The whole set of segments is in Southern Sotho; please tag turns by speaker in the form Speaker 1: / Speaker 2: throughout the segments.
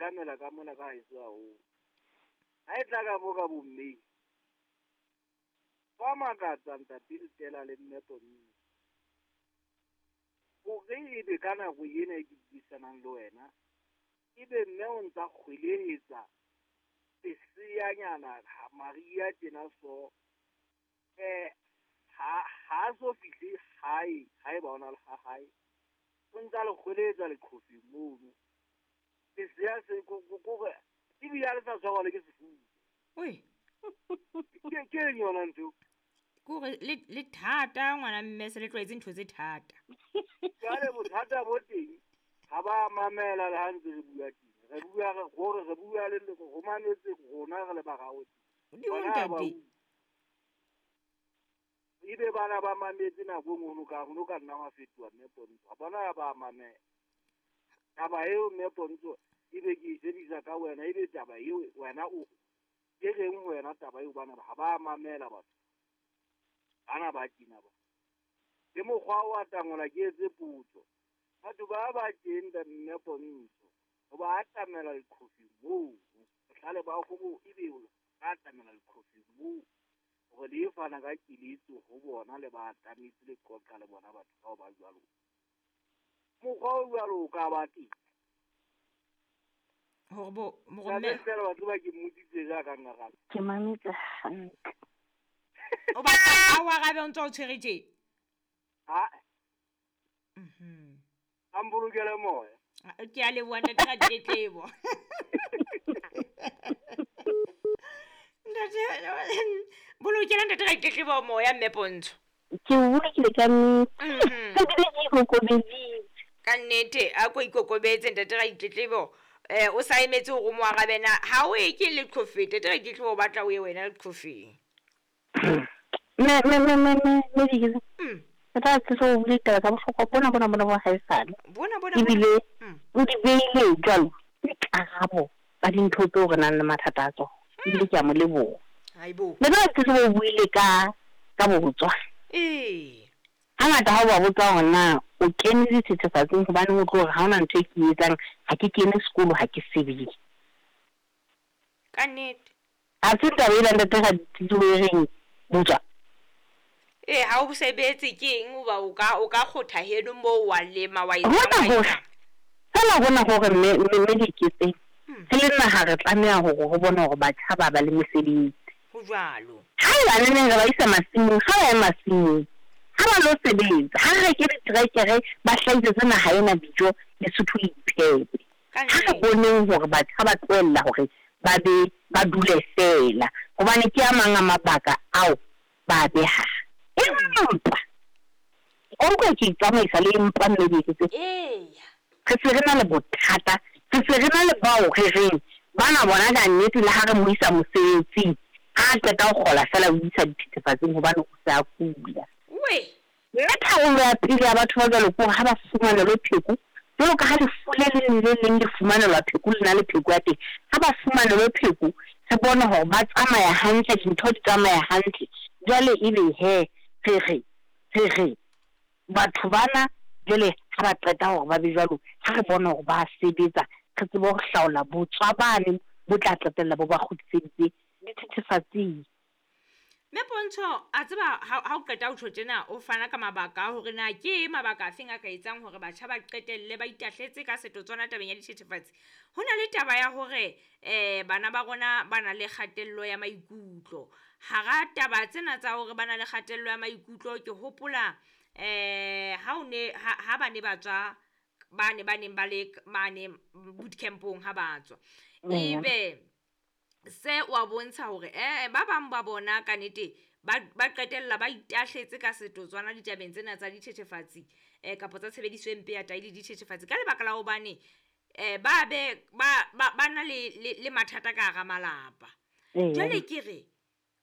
Speaker 1: sekamela ka mona ka haeso haholo. Ha e tla ka mo ka bommeng, ba makatsa ntate Stella le mme Pontsho. Hore ebe ka nako ena e ke buisanang le wena, ebe mme o ntsa kgwelehetsa leseyanyana Maria tjena so, ha so fihle hae, haeba o na le ha hae, o ntsa le kgwelehetsa leqhofeng mono. Lesea se kore ebile ha le sa tshwarwa le ke sefuba.
Speaker 2: Oi.
Speaker 1: Ke eng yona ntho?
Speaker 2: Kore le thata ngwana mme se le tlwaetse ntho tse thata.
Speaker 1: Jwale bothata bo teng ha ba mamela le ha ntse re bua teng. Re bua re gore re bua le go mametse rona re le baraoti.
Speaker 2: Modimo ntate.
Speaker 1: Ebe bana ba mametse nako e nngwe ka ho ka nna wa fetoha mme Pontsho. Bona ba mamela. Taba eo mme Pontsho ebe ke e sebedisa ka wena, ebe taba eo wena o ke reng wena taba eo bana ha ba mamela batho. Bana ba kina ba. Le mokgwa wa tangola ke etse potso. Batho ba ba teng mme Pontsho ho ba atamela leqhofeng moo. Bohlale ba go ebe ba atamela leqhofeng moo. Hore le fana ka keletso ho bona le ba atametse le qoqa le bona batho bao ba jwalo. Mokgwa o jwalo o ka ba teng.
Speaker 2: Hore bo mme
Speaker 1: fela batho ba ke mmotsitse jaaka ngaraba.
Speaker 3: Ke mametse hantle.
Speaker 2: O batla o arabe o ntse o tshwere tje?
Speaker 1: Ha. A mbolokele moya.
Speaker 2: Ke a leboha ntate Ratletlebo. Ntate bolokela ntate Ratletlebo moya mme Pontsho.
Speaker 3: Ke o bolokile ka nnete. Ebile ke ikokobeditse.
Speaker 2: Ka nnete a ko ikokobetse ntate Ratletlebo. O sa emetse hore o mo arabe na ha o e ke leqhofeng ntate Ratletlebo o batla o ye wena leqhofeng.
Speaker 3: Me diketso. Re tla tse o bule taba tsa bohlokwa bona bona bona bo haesale.
Speaker 2: Bona bona.
Speaker 3: Ebile o di beile jwalo dikarabo tsa dintho tseo re nang le mathata a tsona. Ebile ke a mo leboha.
Speaker 2: Haibo.
Speaker 3: Le ba tse o buile ka botswa.
Speaker 2: Ee.
Speaker 3: Hangata ha o ba botsa hore na o kene dithethefatsing hobane o tlo hore ha hona ntho e ke e etsang, ha ke kene sekolo, ha ke sebetse.
Speaker 2: Ka nnete.
Speaker 3: Ha se taba ena ntate Ratletlebo e reng botswa.
Speaker 2: Ee, ha o sebetse ke eng hoba o ka kgotha heno moo wa lema wa
Speaker 3: etsa. Fela hona hore mme diketseng. Re le naha re tlameha hore ho bone hore batjha ba ba le mesebetsi.
Speaker 2: Ho jwalo.
Speaker 3: Ha eba neneng re ba isa masimong, ha ba ye masimong. Ha ba lo sebetsa, ha re reke diterekere ba hlahisetse naha ena dijo, Lesotho le iphepe. Ha re boneng hore batjha ba tlohella hore ba be ba dule fela. Hobane ke a mang a mabaka ao ba behang. Empa o utlwa ke itsamaisa le empa mme diketse.
Speaker 2: Eya.
Speaker 3: Re se re na le bothata, re se re na le bao re reng bana bona ka nnete le ha re mo isa mosebetsing, ha qeta ho kgola fela o isa dithethefatsing hobane o se a kula.
Speaker 2: We.
Speaker 3: Mme tharollo ya pele ya batho ba jwalo ke hore ha ba fumanelwe pheko, jwalo ka ha lefu le leng le leng le fumanelwa pheko, le na le pheko ya teng. Ha ba fumanelwe pheko, re bone hore ba tsamaya hantle, dintho di tsamaya hantle. Jwale ebe he re re batho bana jwale ha ba qeta hore ba be jwalo, ha re bone hore ba sebetsa, re tsebe ho hlaola botswa bane bo tla qetella bo ba kgutliseditse dithethefatsing.
Speaker 2: Mme Pontsho a tseba ha o qeta ho tjho tjena o fana ka mabaka a hore na ke mabaka a feng a ka etsang hore batjha ba qetelle ba itahletse ka setotswana tabeng ya dithethefatsi. Ho na le taba ya hore bana ba rona ba na le kgatello ya maikutlo. Hara taba tsena tsa hore ba na le kgatello ya maikutlo ke hopola ha o ne ha ba ne ba tswa ba ne ba neng ba le mane boot campong ha ba tswa. Ebe se wa bontsha hore ba bang ba bona ka nnete ba qetella ba itahletse ka setotswana ditabeng tsena tsa dithethefatsi kapa tsa tshebediso e mpe ya tahi le dithethefatsi ka lebaka la hobane ba be ba na le mathata ka hara malapa. Jwale ke re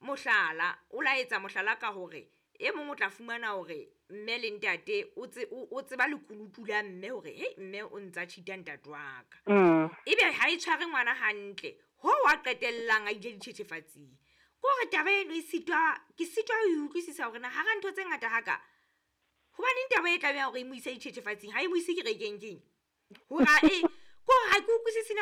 Speaker 2: mohlala o laetsa mohlala ka hore e mong o tla fumana hore mme le ntate o tseba lekunutu la mme hore hei mme o ntsa cheat-a ntate wa ka. Ebe ha e tshware ngwana hantle ho wa qetellang a ile dithethefatsing. Ke hore taba eno e sitwa ke sitwa ho e utlwisisa hore na hara ntho tse ngata haka hobaneng taba e tlameha hore e mo ise dithethefatsing ha e mo ise kerekeng keng. Hore ke hore ha ke utlwisise na